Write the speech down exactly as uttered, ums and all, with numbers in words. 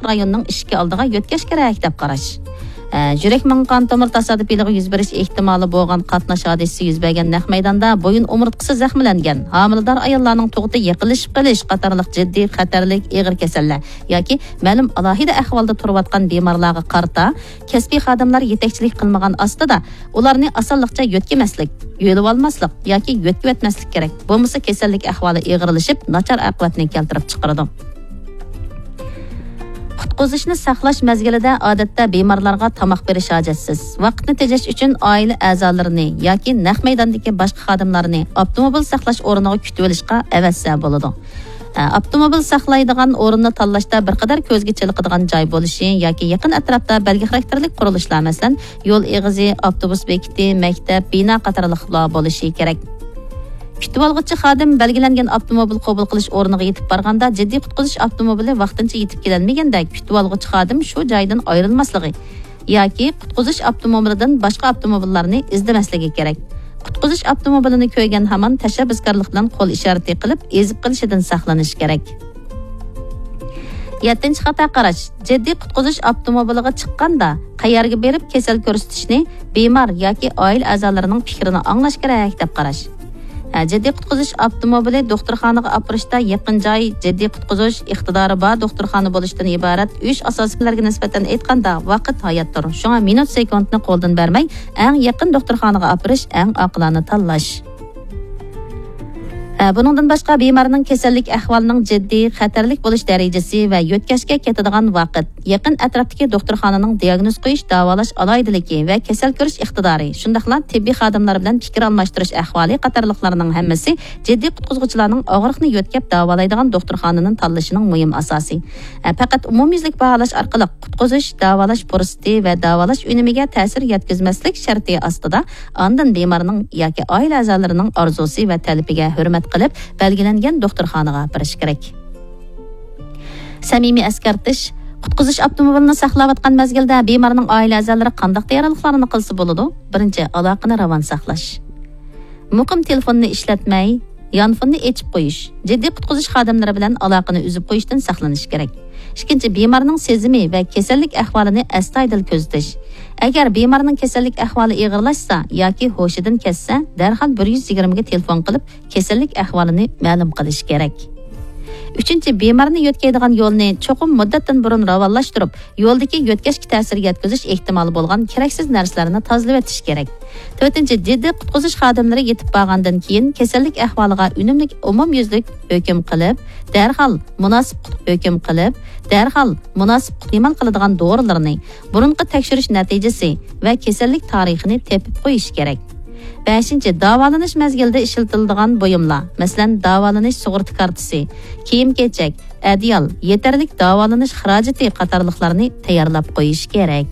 رايوننىڭ ئىشىكى ئالدىغا يۆتكەش كېرەك دەپ قاراش. ئە، يۈرەك مېڭە قان تومۇر تاسادىپىيلىقى يۈز بېرىش ئېھتىمالى بولغان قاتناش ھادىسىسى يۈز بەرگەن نەق مەيداندا بويۇن ئومۇرتقىسى زەخىملەنگەن، ھامىلىدار ئاياللارنىڭ تۇغۇتى يېقىنلىشىپ قېلىش قاتارلىق جىددىي خەتەرلىك ئېغىر كېسەللەر ياكى مەلۇم ئالاھىدە ئەھۋالدا تۇرۇۋاتقان بىمارلارغا قارىتا كەسپىي خادىملار يېتەكچىلىك قىلمىغان ئاستىدا ئۇلارنى ئاسانلىقچە يۆتكىمەسلىك، يۆلىۋالماسلىق ياكى يۆتكىۋەتمەسلىك كېرەك. بولمىسا كېسەللىك ئەھۋالى ئېغىرلىشىپ، ناچار ئاقىۋەتنى كەلتۈرۈپ چىقىرىدۇ. قۇتقۇزۇشنى ساقلاش مەزگىلىدە ئادەتتە بىمارلارغا تاماق بېرىش ھاجەتسىز. ۋاقىتنى تېجەش ئۈچۈن ئائىلە ئەزالىرىنى ياكى نەق مەيداندىكى باشقا خادىملارنى ئاپتوموبىل ساقلاش ئورنىغا كۈتۈۋېلىشقا ئەۋەتسە بولىدۇ. ئاپتوموبىل ساقلايدىغان ئورۇننى تاللاشتا بىر قەدەر كۆزگە چېلىقىدىغان جاي بولۇشى ياكى يېقىن ئەتراپتا بەلگە خاراكتېرلىك قۇرۇلۇشلار، مەسىلەن، يول ئېغىزى، ئاپتوبۇس بېكىتى، مەكتەپ، بىنا قاتارلىقلار بولۇشى كېرەك. كۈتۈۋالغۇچى خادىم بەلگىلەنگەن ئاپتوموبىل قوبۇل قىلىش ئورنىغا يېتىپ بارغاندا، جىددىي قۇتقۇزۇش ئاپتوموبىلى ۋاقتىنچە يېتىپ كېلەلمىگەندە، كۈتۈۋالغۇچى خادىم شۇ جايدىن ئايرىلماسلىقى ياكى قۇتقۇزۇش ئاپتوموبىلىدىن باشقا ئاپتوموبىللارنى ئىزدىمەسلىكى كېرەك. قۇتقۇزۇش ئاپتوموبىلىنى كۆرگەن ھامان تەشەببۇسكارلىق بىلەن قول ئىشارىتى قىلىپ، ئېزىپ قېلىشىدىن ساقلىنىش كېرەك. يەتتىنچى خاتا قاراش. جىددىي قۇتقۇزۇش ئاپتوموبىلىغا چىققاندا، قەيەرگە بېرىپ كېسەل كۆرسىتىشنى بىمار ياكى ئائىلە ئەزالىرىنىڭ پىكرىنى ئاڭلاش كېرەك دەپ قاراش. ھە، جىددىي قۇتقۇزۇش ئاپتوموبىلى دوختۇرخانىغا ئاپىرىشتا يېقىن جاي جىددىي قۇتقۇزۇش ئىقتىدارى بار دوختۇرخانا بولۇشتىن ئىبارەت ئۈچ ئاساسىي كۈنلەرگە نىسبەتەن ئېيتقاندا ۋاقىت ھاياتتۇر. شۇڭا مىنۇت سېكۇنتنى قولدىن بەرمەي، ئەڭ يېقىن دوختۇرخانىغا ئاپىرىش ئەڭ ئاقىلانە تاللاش. ھە، بۇنىڭدىن باشقا، بىمارنىڭ كېسەللىك ئەھۋالىنىڭ جىددىي، خەتەرلىك بولۇش دەرىجىسى ۋە يۆتكەشكە كېتىدىغان ۋاقىت، يېقىن ئەتراپتىكى دوختۇرخانىنىڭ دىياگنوز قويۇش، داۋالاش ئالاھىدىلىكى ۋە كېسەل كۆرۈش ئىقتىدارى، شۇنداقلا تېببىي خادىملار بىلەن پىكىر ئالماشتۇرۇش ئەھۋالى قاتارلىقلارنىڭ ھەممىسى جىددىي قۇتقۇزغۇچىلارنىڭ ئاغرىقنى يۆتكەپ داۋالايدىغان دوختۇرخانىنى تاللىشىنىڭ مۇھىم ئاساسى. ھە، پەقەت ئومۇميۈزلۈك باھالاش ئارقىلىق قۇتقۇزۇش، داۋالاش پۇرسىتى ۋە داۋالاش ئۈنۈمىگە تەسىر يەتكۈزمەسلىك شەرتى ئاستىدا ئاندىن بىمارنىڭ ياكى ئائىلە ئەزالىرىنىڭ ئارزۇسى ۋە تەلىپىگە ھۆرمەت قىلىپ، بەلگىلەنگەن دوختۇرخانىغا ئاپىرىش كېرەك. سەمىمىي ئەسكەرتىش. قۇتقۇزۇش ئاپتوموبىلىنى ساقلاۋاتقان مەزگىلدە بىمارنىڭ ئائىلە ئەزالىرى قانداق تەييارلىقلارنى قىلسا بولىدۇ؟ بىرىنچى، ئالاقىنى راۋان ساقلاش. مۇقىم تېلېفوننى ئىشلەتمەي، يانفوننى ئېچىپ قويۇش، جىددىي قۇتقۇزۇش خادىملىرى بىلەن ئالاقىنى ئۈزۈپ قويۇشتىن ساقلىنىش كېرەك. ئىككىنچى، بىمارنىڭ سېزىمى ۋە كېسەللىك ئەھۋالىنى ئەستايىدىل كۆزىتىش. ئەگەر بىمارنىڭ كېسەللىك ئەھۋالى ئېغىرلاشسا ياكى ھوشىدىن كەتسە، دەرھال بىر يۈز يىگىرمىگە تېلېفون قىلىپ، كېسەللىك ئەھۋالىنى مەلۇم قىلىش كېرەك. ئۈچىنچى، بىمارنى يۆتكەيدىغان يولنى چوقۇم مۇددەتتىن بۇرۇن راۋانلاشتۇرۇپ، يولدىكى يۆتكەشكە تەسىر يەتكۈزۈش ئېھتىمالى بولغان كېرەكسىز نەرسىلەرنى تازىلىۋېتىش كېرەك. تۆتىنچى، جىددىي قۇتقۇزۇش خادىملىرى يېتىپ بارغاندىن كېيىن، كېسەللىك ئەھۋالىغا ئۈنۈملۈك ئومۇميۈزلۈك ھۆكۈم قىلىپ، دەرھال مۇناسىپ ھۆكۈم قىلىپ، دەرھال مۇناسىپ ئىستېمال قىلىدىغان دورىلىرىنى، بۇرۇنقى تەكشۈرۈش نەتىجىسى ۋە كېسەللىك تارىخىنى تېپىپ قويۇش كېرەك. بەشىنچى، داۋالىنىش مەزگىلىدە ئىشلىتىلىدىغان بۇيۇملار، مەسىلەن، داۋالىنىش سۇغۇرتا كارتىسى، كىيىم-كېچەك، ئەدىيال، يېتەرلىك داۋالىنىش خىراجىتى قاتارلىقلارنى تەييارلاپ قويۇش كېرەك.